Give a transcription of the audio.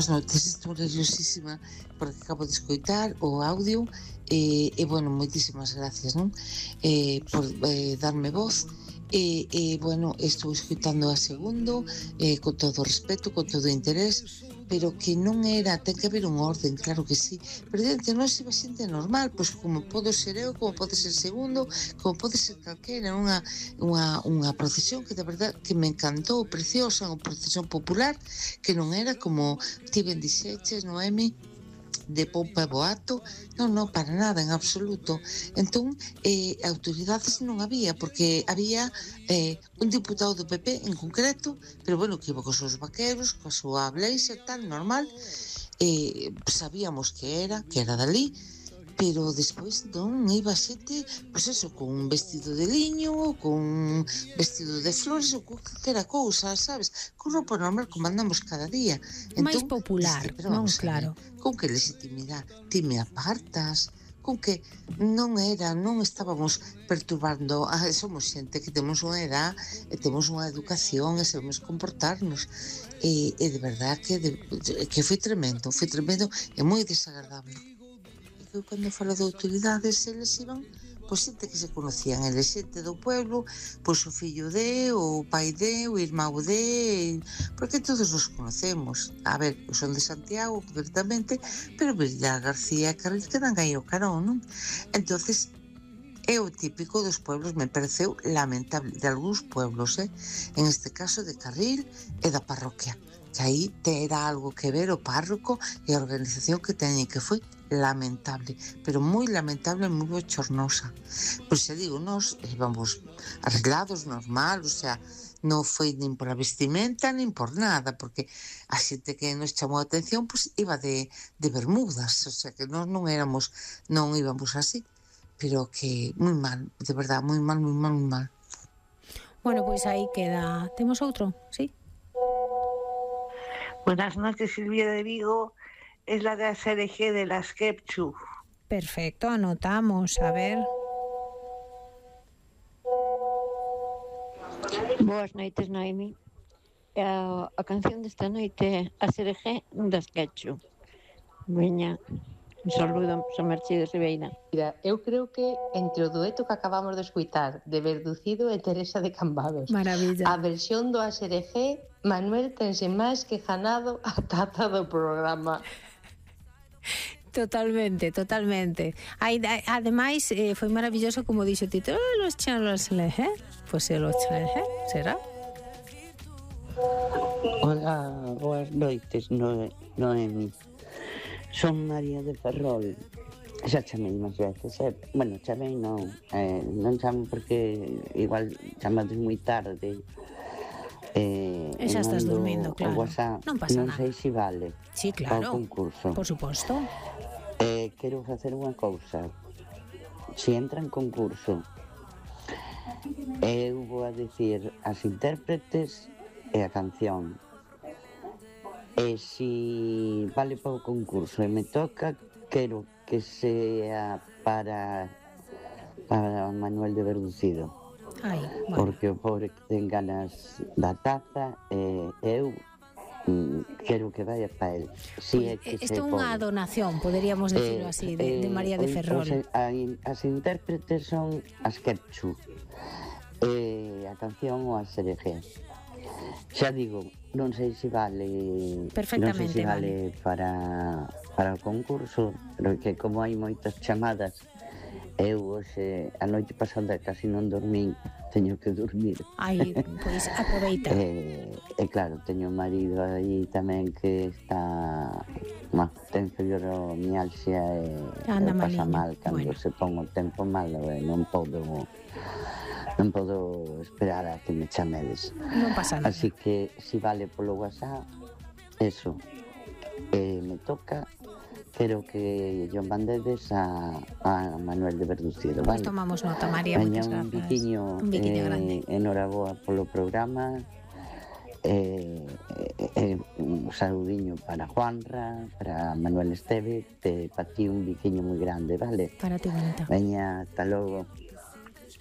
boas noites, estou nerviosísima porque acabo de escoitar o audio e bueno, moitísimas gracias, non? Por darme voz bueno, estou escoitando a segundo con todo o respeto, con todo o interés, pero que non era, ten que haber un orden, claro que sí, pero diante non se va xente normal, pois como podo ser eu, como pode ser segundo, como pode ser calquera, unha procesión que de verdad que me encantou, preciosa, unha procesión popular, que non era como ti ben dixeches, Noemi, de pompa e boato, non, para nada, en absoluto. Entón, autoridades non había, porque había un diputado do PP en concreto, pero bueno, que iba cos seus vaqueros, coa súa blazer, tal, normal, sabíamos que era dali, pero despois non iba xente, pois eso, con un vestido de liño, con un vestido de flores ou con calquera cousa, sabes? Con roupa normal como andamos cada día. Máis Entón, popular, pero non? vamos a ver, Claro. con que legitimidade ti me apartas, con que non estábamos perturbando, somos xente que temos unha edad e temos unha educación e sabemos comportarnos e de verdad que foi tremendo e moi desagradable. Eu cando falo de autoridades, eles iban pois xente que se conocían, eles xente do pueblo, pois o fillo de, o pai de, o irmão de, porque todos nos conocemos. A ver, eu son de Santiago, concretamente, pero Villar García e Carril quedan aí ao carón, non? Entonces, é o típico dos pueblos, me pareceu lamentable, de algúns pueblos, en este caso de Carril e da parroquia, que aí terá algo que ver o párroco e a organización que teñen, que foi lamentable, pero moi lamentable, moi bochornosa. Pois xa digo, nós íbamos arreglados, normal, o sea, non foi nin por a vestimenta, nin por nada, porque a xente que nos chamou a atención, pois iba de bermudas, o sea, que nós non íbamos así, pero que moi mal, de verdad, moi mal. Bueno, pois aí queda. Temos outro, sí? Buenas noches, Silvia de Vigo. Es la de ASRG de las Kepchu. Perfecto, anotamos, a ver. Boas noites, Noemi. A canción desta noite é ASRG das Kepchu. Veña, un saludo, son Mercedes Ribeira. Eu creo que entre o dueto que acabamos de escuitar de Verducido e Teresa de Cambados, Maravilla. a versión do ASRG, Manuel tense máis que ganado a taza do programa. Totalmente. Ademais, foi maravilloso como dixo o Tito, los charlos leje, pois los leje, será? Hola, boas noites, Noemi. Son María de Ferrol. Xa chamei máis veces, bueno, chamei non chamo porque igual chamades moi tarde. E xa estás dormindo, claro. WhatsApp, non pasa non nada. sei se vale. Sí, claro. Ao concurso. Por suposto. Quero facer unha cousa. Se entra en concurso, eu vou a dicir as intérpretes e a canción. E se vale para o concurso e me toca, quero que sea para Manuel de Verducido. Ai, bueno. Porque o pobre que ten ganas da taza, eu quero que vaya para el. Si é que isto é unha donación, poderíamos decirlo así, de María de Ferrol. As intérpretes son as Kepchu, a canción o a ASRG. Xa digo, non sei se vale. Perfectamente, non sei se vale para o concurso, pero que como hai moitas chamadas, eu hoxe a noite pasada casi non dormín, teño que dormir. Ai, pois aproveita. E claro, teño un marido aí tamén que está ten fibromialgia e pasa mal cando se pon o tempo malo e non podo esperar a que me chamedes. Non pasa nada. Así que si vale polo WhatsApp, eso, me toca. Quero que yo mandedes a Manuel de Verducido, Pois vale? tomamos nota, María, moitas gracias. Un biquiño grande. Enhoraboa polo programa. Un saludiño para Juanra, para Manuel Esteve, para ti un biquiño moi grande, vale? Para ti, bonita. Veña, hasta logo.